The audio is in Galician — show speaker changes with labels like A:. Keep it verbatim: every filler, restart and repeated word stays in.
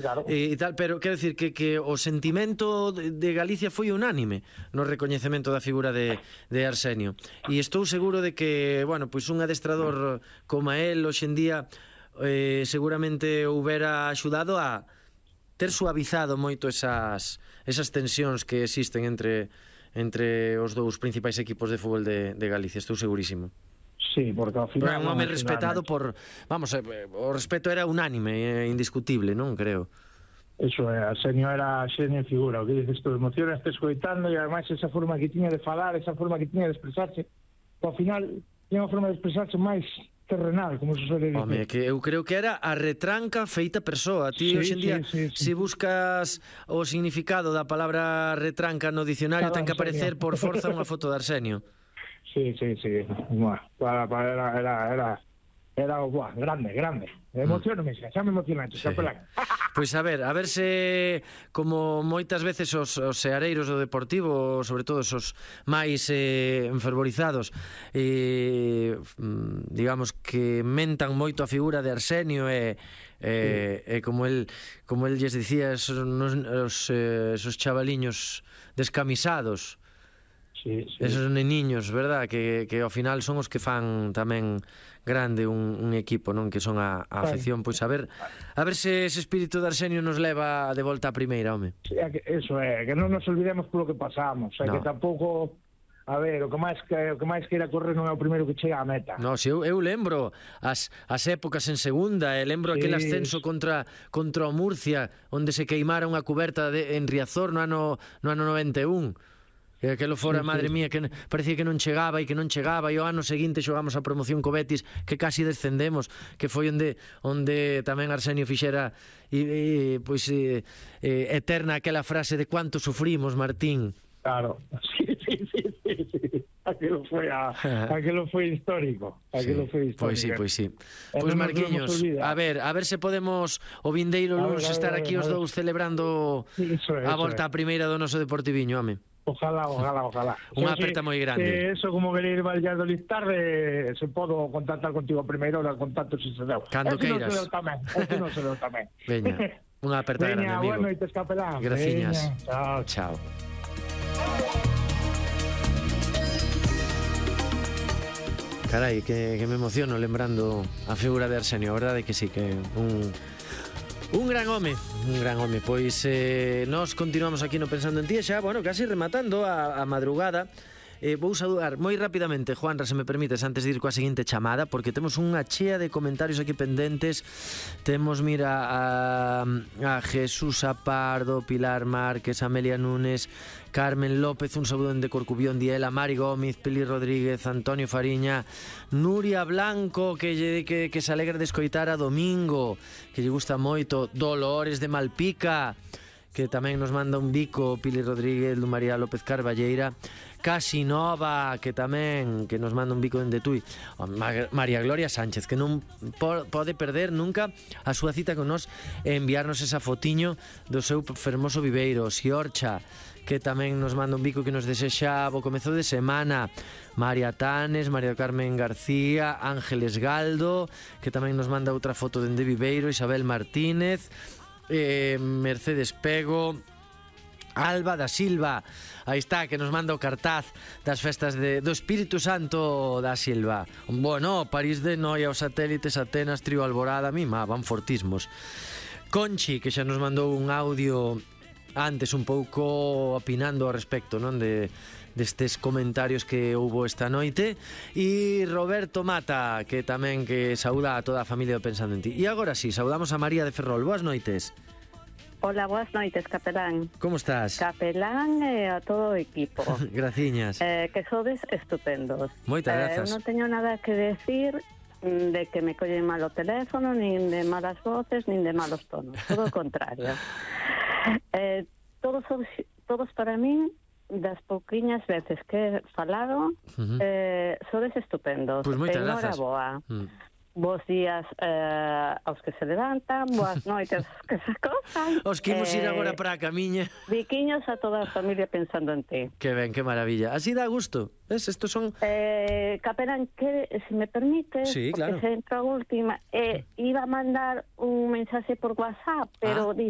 A: Claro.
B: e, e tal, pero quero dicir que, que o sentimento de, de Galicia foi unánime no recoñecemento da figura de, de Arsenio, e estou seguro de que, bueno, pois un adestrador como el hoxe en día eh, seguramente houbera axudado a ter suavizado moito esas, esas tensións que existen entre entre os dous principais equipos de fútbol de, de Galicia, estou segurísimo.
A: Sí, porque ao final...
B: Pero é un home respetado por... Vamos, eh, o respeto era unánime, eh, indiscutible, non creo.
A: Eso é, Arsenio era xenio e figura, o que dices tú, emocionas te escoitando, e ademais esa forma que tiña de falar, esa forma que tiña de expresarse, ao final tiña unha forma de expresarse máis terrenal, como se suele dicir.
B: Home, que eu creo que era a retranca feita persoa. Ti,
A: sí,
B: hoxe en día,
A: sí, sí, sí.
B: se buscas o significado da palabra retranca no dicionario, ten que aparecer por forza unha foto de Arsenio.
A: Sí, sí, sí. Buah, para, para, era, era, era, era buah, grande, grande. Emocioname, xa, xa me emocionante, sí. Capelán.
B: Pois a ver, a ver se como moitas veces os, os seareiros do Deportivo, sobre todo os máis eh, enfervorizados, eh, digamos que mentan moito a figura de Arsenio e eh, sí. eh, como el como el lles dicía, esos, os, eh, esos chavaliños descamisados.
A: Sí, sí.
B: Esos neniños, verdad, que, que ao final son os que fan tamén grande un, un equipo, non, que son a, a afección. Pois a ver, a ver se ese espírito de Arsenio nos leva de volta á primeira, home.
A: Sí, eso é, que non nos olvidemos polo que pasamos, é no. Que tampouco, a ver, o que máis que o que máis queira correr non é o primeiro que chega á meta.
B: No, si eu, eu lembro as, as épocas en segunda, e lembro sí. Aquel ascenso contra contra o Murcia, onde se queimara unha cuberta de, en Riazor no ano no ano noventa e un. Que aquelo fora, sí, madre sí. Mía, que parecía que non chegaba e que non chegaba, e o ano seguinte xogamos a promoción co Betis, que casi descendemos, que foi onde onde tamén Arsenio fixera e, e pois e, e, eterna aquela frase de cuánto sufrimos, Martín.
A: Claro, sí, sí, sí, sí, sí. Aquilo foi a, aquilo foi histórico, aquilo sí. Foi histórico.
B: Pois sí, pois sí. Pois Marquiños, a ver, a ver se podemos o vindeiro luns estar aquí os dous celebrando eso, a volta á primeira do noso Deportiviño, home.
A: Ojalá, ojalá, ojalá.
B: Unha aperta moi grande.
A: Que eso, como querer ir Valladolid tarde, se podo contactar contigo primeiro, o contacto se se deu.
B: Cando
A: eso
B: queiras.
A: Non se deu tamén, eso non se deu tamén.
B: Veña, unha aperta
A: Veña,
B: grande, amigo.
A: Veña, buenas noites, capelán.
B: Graciñas.
A: Chao.
B: Chao. Carai, que, que me emociono lembrando a figura de Arsenio, a verdade que sí, que un... Un gran home, un gran home. Pois eh, nós continuamos aquí no Pensando en Ti, xa, bueno, casi rematando a, a madrugada. Eh, vou saudar moi rapidamente, Juanra, se me permites, antes de ir coa seguinte chamada, porque temos unha chea de comentarios aquí pendentes. Temos, mira, a, a Jesús Apardo, Pilar Márquez, Amelia Núñez, Carmen López, un saúdo de Corcubión, Diela, Mari Gómez, Pili Rodríguez, Antonio Fariña, Nuria Blanco, que, lle, que, que se alegra de escoitar a Domingo, que lle gusta moito, Dolores de Malpica, que tamén nos manda un bico, Pili Rodríguez, María López Carballeira, Casinova, que tamén que nos manda un bico dende Tui, María Gloria Sánchez, que non po- pode perder nunca a súa cita con nós e enviarnos esa fotiño do seu fermoso viveiro. Siorcha, que tamén nos manda un bico que nos desexa bo comezo de semana. María Tanes, María Carmen García, Ángeles Galdo, que tamén nos manda outra foto dende Viveiro. Isabel Martínez, eh, Mercedes Pego, Alba da Silva, aí está, que nos manda o cartaz das festas de, do Espírito Santo da Silva. Bueno, París de Noia, os satélites, Atenas, Trío Alborada, mima, van fortismos. Conchi, que xa nos mandou un audio antes un pouco opinando ao respecto, non, de destes comentarios que houbo esta noite. E Roberto Mata, que tamén que saúda a toda a familia do Pensando en Ti. E agora sí, saudamos a María de Ferrol. Boas noites.
C: Hola, boas noites, capelán.
B: Como estás?
C: Capelán e a todo o equipo.
B: Graciñas.
C: Eh, que sodes estupendos.
B: Moitas grazas.
C: Eh, eu non teño nada que decir de que me collen mal o teléfono, nin de malas voces, nin de malos tonos. Todo o contrario. eh, todos, todos para min, das pouquiñas veces que he falado, uh-huh. eh, sodes estupendos.
B: Pois moitas grazas.
C: Enhoraboa. Mm. Bos días eh, aos que se levantan, boas noites aos que se acosan.
B: Os que imos ir agora para a camiña.
C: Biquiños a toda a familia pensando en ti.
B: Que ben, que maravilla. Así dá gusto. Ves, estos son...
C: Eh, Caperán, que, se me permite,
B: sí, claro.
C: porque se entra a última, eh, iba a mandar un mensaxe por WhatsApp, pero
B: ah.
C: dice